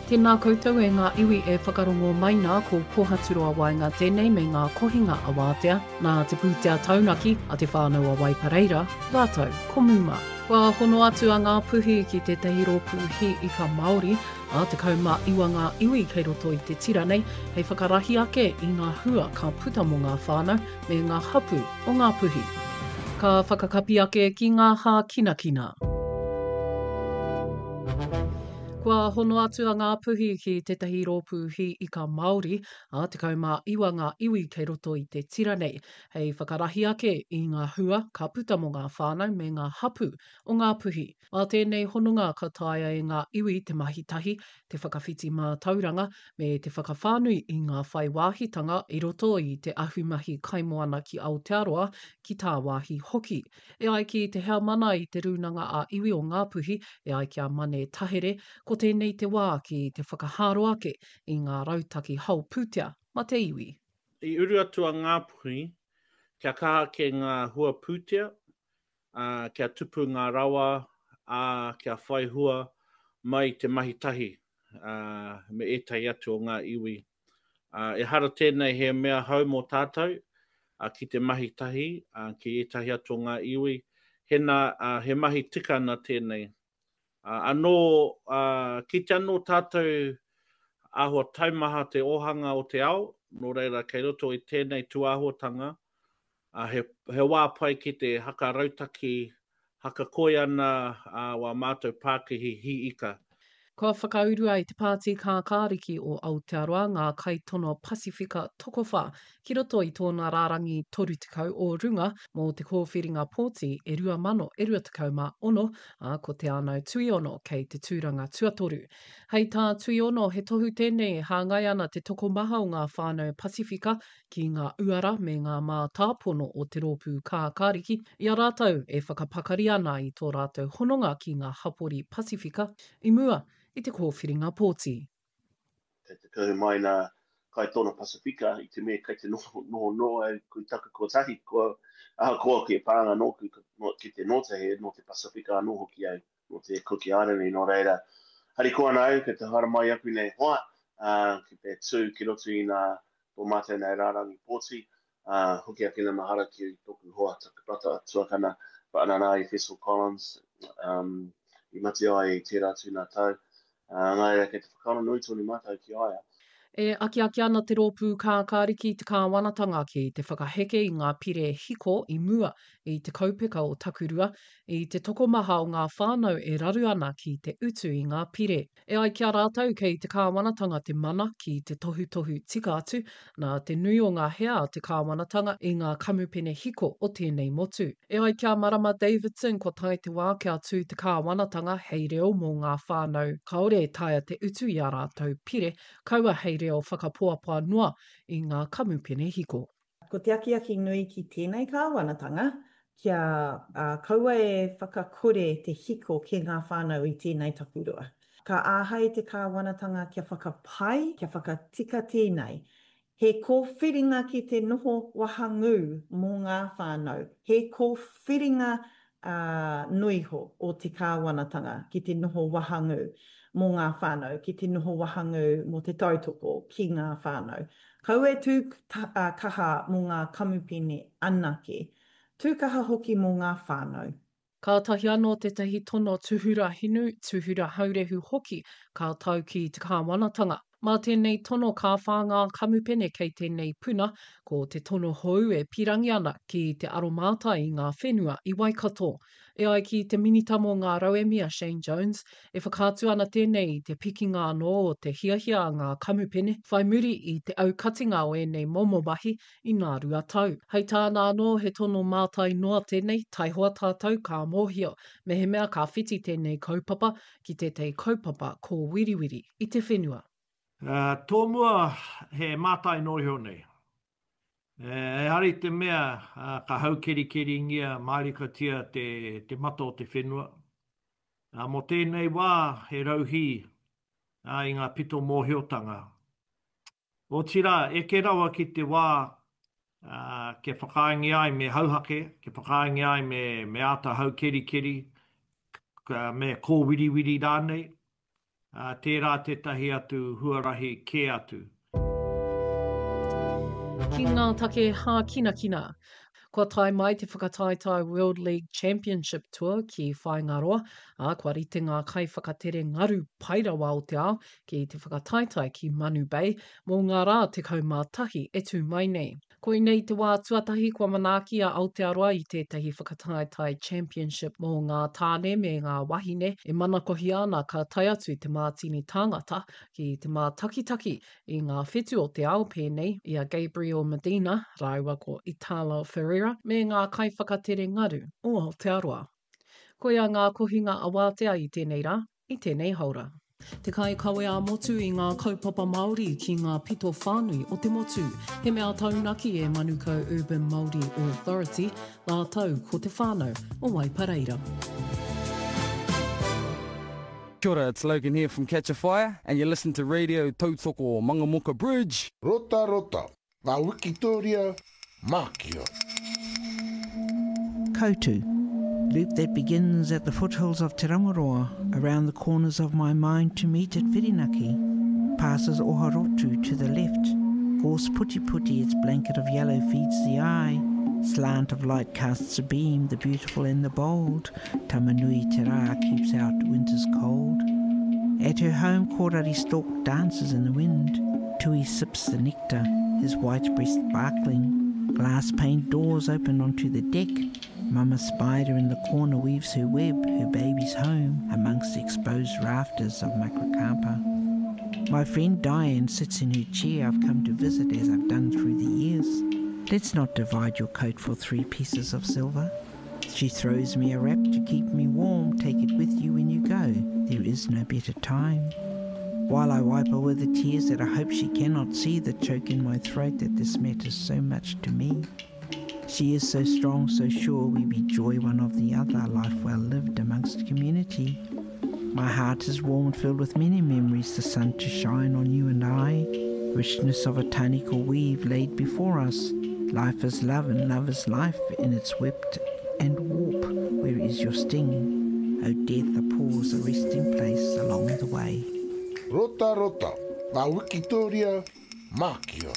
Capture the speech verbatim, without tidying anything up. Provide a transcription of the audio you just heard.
Tēnā koutou e ngā iwi e whakarongo mai nā ko Pohaturoa Waenga tēnei me ngā kohinga a Wātea, nā te pūtea taunaki a Te Whānau a Waipareira, rātou ko Muma. Kua hono atu a Ngāpuhi ki tētahi rōpū hī ika Māori, ā, tekau mā iwa ngā iwi kei roto i te tira nei hei whakarahi ake i ngā hua ka puta mō ngā whānau me ngā hapū o Ngāpuhi. Ka whakakapi ake ki ngā hākinakina. Kua hono atu a Ngāpuhi ki tētahi rōpū hī ika Māori, ā, tekau mā iwa ngā iwi kei roto i te tira nei, hei whakarahi ake i ngā hua ka puta mō ngā whānau me ngā hapū o Ngāpuhi. Mā tēnei hononga ka taea e ngā iwi te mahi tahi, te whakawhiti mātauranga, me te whakawhānui i ngā whai wāhitanga i roto i te ahumahi kaimoana ki Aotearoa, ki tāwāhi hoki. E ai ki te heamana i te Rūnanga ā-Iwi o Ngāpuhi, e ai ki a Mane Tahere, ko tēnei te wā ki te whakahaaro ake i ngā rautaki hao pūtea ma te iwi. I uru atu a Ngāpuhi kia kaha ake ngā hua pūtea, ā, kia tupu ngā rawa, ā, kia whai hua mai te mahi tahi me ētahi atu o ngā iwi. Ehara tēnei he mea hou mō tātou ki te mahi tahi ki ētahi atu o ngā iwi, hena he mahi tika ana tēnei. Anō, kite anō tātou āhua taumaha te ōhanga o te ao, nō reira kei roto i tēnei tūāhuatanga, he, he wā pai ki te haka rautaki, haka koi ana wā mātou pākihi hī ika. Kua whakaurua e Te Pāti Kākāriki o Aotearoa ngā kaitono Pasifika tokowhā ki roto i tōna rārangi toru tekau o runga mō te kōwhiringa pōti e rua mano e rua tekau mā ono, ā, ko Te Anau Tuiono kei te tūranga tuatoru. Hei tā Tuiono, he tohu tēnei e hāngai ana te tokomaha o ngā whānau Pasifika ki ngā uara me ngā mātāpono o te rōpū kākāriki i a rātou e whakapakari ana i tō rātou hononga ki ngā hapori Pasifika i mua i te kōwhiringa pōti. Kei te kuhu mai nā kaitono Pasifika i te mea kei te noho noho noa au kui taku kotahi, kua, ahakoa ki e pānga nōku ki te nōta he nō te Pasifika anō hoki au, nō te Kuki Airani, nō reira, harikoa ana au kei te haere mai aku nei hoa, ā, ki te tū ki roto i nā tō mātou nei rārangi pōti, ā, hoki ake na mahara ki tōku hoa, taku brata tuakana, whaanana i Fessel Collins, um, i mate ai i tērā tū nā tau. Ā, nā reira, kei te whakaaro nui tonu mātou ki a ia. E akiaki ana te rōpū kākāriki i te kāwanatanga ki te whakaheke i ngā pire hiko i mua i te kaupeka o Takurua, i te tokomaha o ngā whānau e raru ana ki te utu i ngā pire. E ai ki a rātou kei te kāwanatanga te mana ki te tohutohu tika atu, nā te nui o ngā hea a te kāwanatanga i ngā kamupene hiko o tēnei motu. E ai ki a Marama Davidson kua tae te wā kia tū te kāwanatanga hei reo mō ngā whānau kāore e taea te utu i ā rātou pire, kaua hei reo whakapoapoa noa i ngā kamupene hiko. Ko te akiaki nui ki tēnei kāwanatanga, kia kaua e whakakore te hiko ki ngā whānau i tēnei takurua. Ka āhei te kāwanatanga kia whakapai, kia whakatika tēnei. He kōwhiringa ki te noho wahangū mō ngā whānau, he kōwhiringa noiho o te kāwanatanga ki te noho wahangū mō ngā whānau, ki te noho wahangū mō te tautoko ki ngā whānau. Kaua e tū kaha mō ngā kamupene anake, tū kaha hoki mō ngā whānau. Kātahi anō tētahi tono tūhura hinu, tūhura haurehu hoki ka tau ki te kāwanatanga. Mā tēnei tono ka whā ngā kamupene kei tēnei puna, ko te tono hou e pīrangi ana ki te aromātai i ngā whenua i Waikato. E ai ki te Minita mō ngā Rauemi a Shane Jones, e whakaatu ana tēnei i te pikinga anō o te hiahia a ngā kamupene whai muri i te aukatinga o ēnei momo mahi i nā rua tau. Hei tāna anō, he tono mātai noa tēnei, taihoa tātou ka mōhio mehemea ka whiti tēnei kaupapa ki tētahi kaupapa kōwiriwiri i te whenua. Tōmua he mātai noa iho nei. Ehara i te mea ka haukerikeringia mārikatia te mata o te whenua. Mō tēnei wā he rauhī i ngā pito mōhiotanga. Otirā, eke rawa ki te wā kia whakaaengia ai me hauhake, kia whakaaengia ai me āta haukerikeri, me kōwiriwiri rānei, Tērā tētahi atu huarahi kē atu. Ki ngā take hākinakina. Kua tae mai te whakataetae World League Championship Tour ki Whāingaroa, ā, kua rite ngā kaiwhakatere ngaru pai rawa o te ao ki te whakataetae ki Manu Bay mō ngā rā tekau mā tahi e tū mai nei. Koinei te wā tuatahi kua manaaki a Aotearoa i tētahi whakataetae championship mō ngā tāne me ngā wahine e manakohia ana ka tae atu te mātini tāngata ki te mātakitaki i ngā whetu o te ao pēnei i a Gabriel Medina rāua ko Italo Ferreira me ngā kaiwhakatere ngaru o Aotearoa. Koia ngā kohinga awātea i tēnei rā, i tēnei haora. Te kaikawe ā-motu i ngā kaupapa Māori ki ngā pito whānui o te motu. He mea taunaki e Manukau Urban Māori Authority rātou ko te whānau o Waipareira. Kia ora, it's Logan here from Catch a Fire and you're listening to Radio Tautoko Mangamuka Bridge. Rota rota, ngā wikitoria, mākia. Koutu, loop that begins at the foothills of Te Rangoroa, around the corners of my mind to meet at Whirinaki, passes Oharotu to the left, gorse puti puti, its blanket of yellow feeds the eye, slant of light casts a beam, the beautiful and the bold, Tamanui Te Rā keeps out winter's cold. At her home, Korari stork dances in the wind, Tui sips the nectar, his white breast sparkling, glass-paned doors open onto the deck, Mama spider in the corner weaves her web, her baby's home, amongst the exposed rafters of Macrocampa. My friend Diane sits in her chair I've come to visit as I've done through the years. Let's not divide your coat for three pieces of silver. She throws me a wrap to keep me warm. Take it with you when you go. There is no better time. While I wipe away the tears that I hope she cannot see that choke in my throat that this matters so much to me. She is so strong, so sure we be joy one of the other, life well lived amongst community. My heart is warm and filled with many memories, the sun to shine on you and I, richness of a tanical weave laid before us. Life is love and love is life in its whipped and warp. Where is your sting? O death, a pause, a resting place along the way. Rota rota, ngā wikitoria, mākia.